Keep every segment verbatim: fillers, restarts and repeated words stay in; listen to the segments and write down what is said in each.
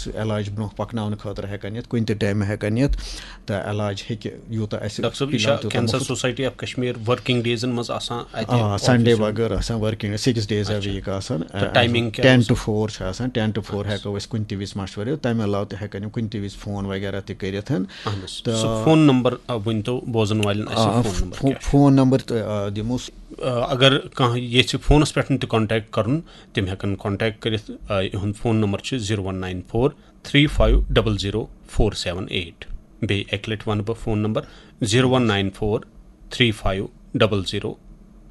علاج برونٛہہ پکناونہٕ خٲطرٕ ہٮ۪کان یِتھ، کُنہِ تہِ ٹایمہٕ ہٮ۪کان یِتھ، تہٕ علاج ہیٚکہِ یوٗتاہ اَسہِ ڈاکٹر صٲب، یہِ چھا فِلحال تیوٗتاہ کینسر مۄخصر۔ سوسایٹی آف کشمیر ورکنگ ڈیزن منٛز آسان اَتہِ آ، آفسَس سنڈے منٛز؟ بغٲر آسان ورکنگ، سِکِس ڈیز اے اچھا۔ ویٖک آسان۔ تہٕ ٹایمنگ کیٛاہ ٹین روزِ؟ ٹو فور چھِ آسان، ٹین ٹو فور اچھا۔ ہٮ۪کو أسۍ کُنہِ تہِ وِزِ مشورٕ، تَمہِ علاوٕ تہِ ہٮ۪کان یِم کُنہِ تہِ وِزِ فون وغیرہ تہِ کٔرِتھ۔ اہن حظ۔ تہٕ سُہ فون نمبر، آ، ؤنۍ تو بوزن والٮ۪ن اَسہِ آ، فون نمبر فو-، کیٛاہ چھُ؟ فون نمبر تہٕ، آ، دِمو۔ آ، اگر کانٛہہ یژھِ فونس پٮ۪ٹھ تہِ کانٹیکٹ کرُن، تِم ہٮ۪کن کانٹیکٹ کٔرِتھ۔ آ، یِہُنٛد فون نمبر چھُ zero one nine four three five double zero four seven eight. بیٚیہِ اَکہِ لٹہِ وَنہٕ بہٕ phone number, zero one nine four three five double zero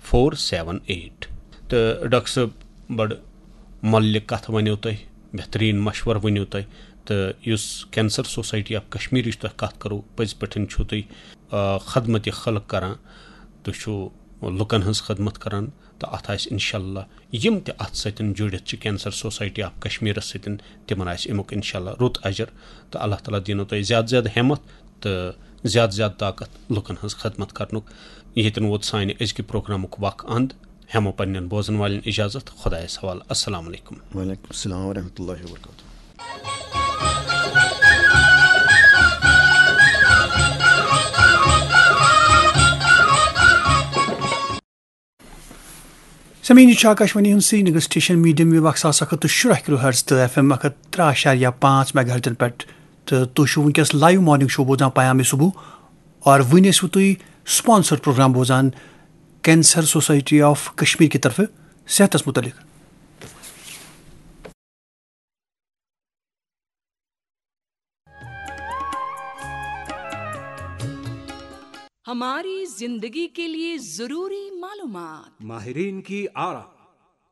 four seven eight. تہٕ ڈاکٹر صٲب، بڑٕ مۄلہِ کتھ ؤنِو تۄہہِ، بہتریٖن مشورٕ ؤنِو تۄہہِ، تہٕ یُس کینسر سوسایٹی آف کشمیرٕچ تۄہہِ کتھ کرو، پٔزۍ پٲٹھۍ چھُو تُہۍ، آ، خدمت خلق کران، تُہۍ چھِو لُکن ہٕنٛز خدمت کران، تہٕ اتھ آسہِ انشاءاللہ یِم تہِ اتھ سۭتۍ جُڑِتھ چھِ کینسر سوسایٹی آف کشمیرس سۭتۍ، تِمن آسہِ امیُک انشاءاللہ رُت اجر، تہٕ اللہ تعالیٰ دِنو تۄہہِ زیادٕ زیادٕ ہٮ۪متھ تہٕ زیادٕ زیادٕ طاقت لُکن ہٕنٛز خدمت کرنُک۔ ییٚتٮ۪ن ووت سانہِ أزکہِ پروگرامُک وق اند۔ ہٮ۪مو پننٮ۪ن بوزن والٮ۪ن اجازت۔ خۄدایس حوالہٕ۔ السلام علیکم۔ وعلیکم السلام ورحمۃ اللہ وبرکاتہ۔ سامعین، یہِ چھُ آکاشوانی ہُنٛد سرینگر سٹیشن، میڈیم ویو اکھ ساس اکھ ہتھ تہٕ شُراہ کلو ہرٹز تہٕ ایف ایم اکھ ہتھ ترٛہ اعشاریہ پانٛژھ میگا ہرٹزن پٮ۪ٹھ۔ تہٕ تُہۍ چھِو وٕنکیٚس لایو مارننگ شو بوزان پیام صبح، اور وٕنۍ ٲسِو تُہۍ سپانسر پروگرام بوزان کینسر سوسائٹی آف کشمیر کی طرفہٕ صحتس متعلق۔ ہماری زندگی کے لیے ضروری معلومات۔ ماہرین کی آرا،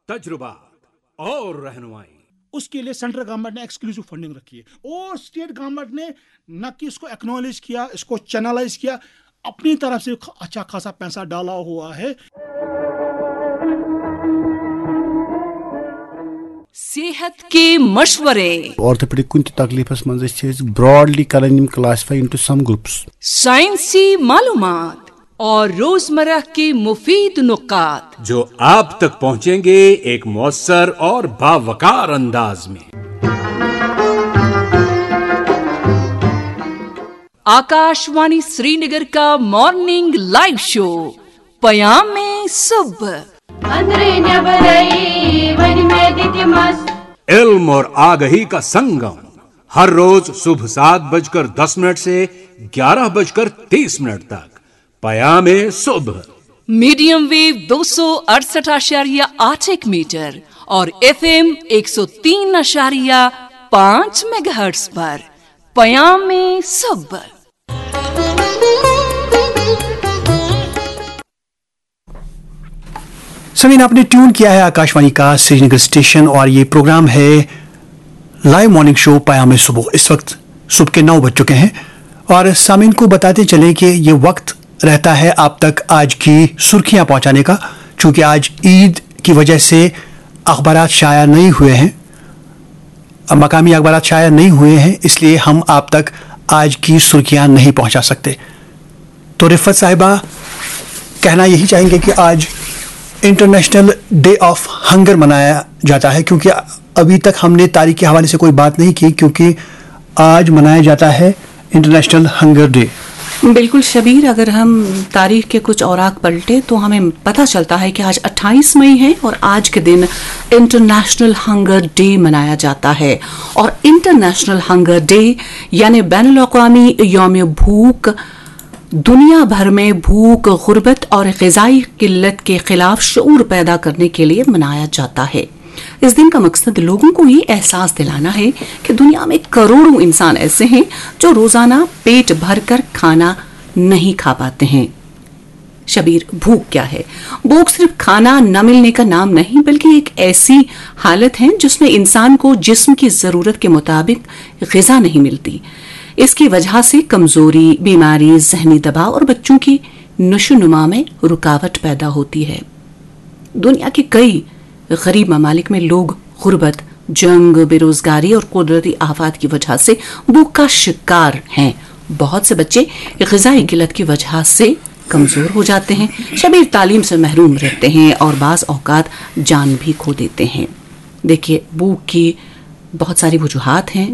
تجربات اور رہنمائی۔ اس کے لیے سینٹرل گورنمنٹ نے ایکسکلوسیو فنڈنگ رکھی ہے اور اسٹیٹ گورنمنٹ نے نہ کہ اس کو ایکنالج کیا، اس کو چینلائز کیا، اپنی طرف سے خ-، اچھا خاصا پیسہ ڈالا ہوا ہے۔ صحت کے مشورے۔ آرتھوپیڈک کُنہِ تہِ تکلیفس منٛز أسۍ چھِ أسۍ براڈلی کران یِم classify into some groups۔ سائنسی معلومات اور روزمرہ کے مفید نکات۔ جو آپ تک پہنچیں گے ایک مؤثر اور باوقار انداز میں۔ آکاشوانی سرینگر کا مارننگ لائیو شو پیام صبح۔ أنٛدرٕ نٮ۪برَے وۄنۍ مےٚ دِتہِ مَس۔ علم اور آگہی کا سنگم، ہر روز صبح سات بج کر دس منٹ سے گیارہ بج کر تیس منٹ تک۔ پیام صبح۔ میڈیم ویو دو سو اڑسٹھ اعشاریہ آٹھ ایک میٹر اور ایف ایم ایک سو تین اعشاریہ پانچ میگا ہرٹز پر پیام صبح۔ سامعین، آپ نے ٹیون کیا ہے آکاشوانی کا سرینگر اسٹیشن اور یہ پروگرام ہے لائیو مارننگ شو پیام صبح۔ اس وقت صبح کے نو بج چکے ہیں اور سامعین کو بتاتے چلیں کہ یہ وقت رہتا ہے آپ تک آج کی سرخیاں پہنچانے کا، چونکہ آج عید کی وجہ سے اخبارات شائع نہیں ہوئے ہیں، مقامی اخبارات شائع نہیں ہوئے ہیں، اس لیے ہم آپ تک آج کی سرخیاں نہیں پہنچا سکتے۔ تو رفعت صاحبہ، کہنا یہی چاہیں گے کہ آج انٹرنیشنل ڈے آف ہنگر منایا جاتا ہے، کیونکہ ابھی تک ہم نے تاریخ کے حوالے سے کوئی بات نہیں کی، کیونکہ آج منایا جاتا ہے انٹرنیشنل ہنگر ڈے۔ بالکل شبیر، اگر ہم تاریخ کے کچھ اوراق پلٹیں تو ہمیں پتہ چلتا ہے کہ آج اٹھائیس مئی ہے اور آج کے دن انٹرنیشنل ہنگر ڈے منایا جاتا ہے۔ اور انٹرنیشنل ہنگر ڈے یعنی بین الاقوامی یوم بھوک دنیا بھر میں بھوک، غربت اور غذائی قلت کے خلاف شعور پیدا کرنے کے لیے منایا جاتا ہے۔ اس دن کا مقصد لوگوں کو یہ احساس دلانا ہے کہ دنیا میں کروڑوں انسان ایسے ہیں جو روزانہ پیٹ بھر کر کھانا نہیں کھا پاتے ہیں۔ شبیر، بھوک کیا ہے؟ بھوک صرف کھانا نہ ملنے کا نام نہیں، بلکہ ایک ایسی حالت ہے جس میں انسان کو جسم کی ضرورت کے مطابق غذا نہیں ملتی۔ اس کی وجہ سے کمزوری، بیماری، ذہنی دباؤ اور بچوں کی نشو نما میں رکاوٹ پیدا ہوتی ہے۔ دنیا کے کئی غریب ممالک میں لوگ غربت، جنگ، بے روزگاری اور قدرتی آفات کی وجہ سے بھوک کا شکار ہیں۔ بہت سے بچے غذائی قلت کی وجہ سے کمزور ہو جاتے ہیں، شبیر، تعلیم سے محروم رہتے ہیں اور بعض اوقات جان بھی کھو دیتے ہیں۔ دیکھیے، بھوک کی بہت ساری وجوہات ہیں،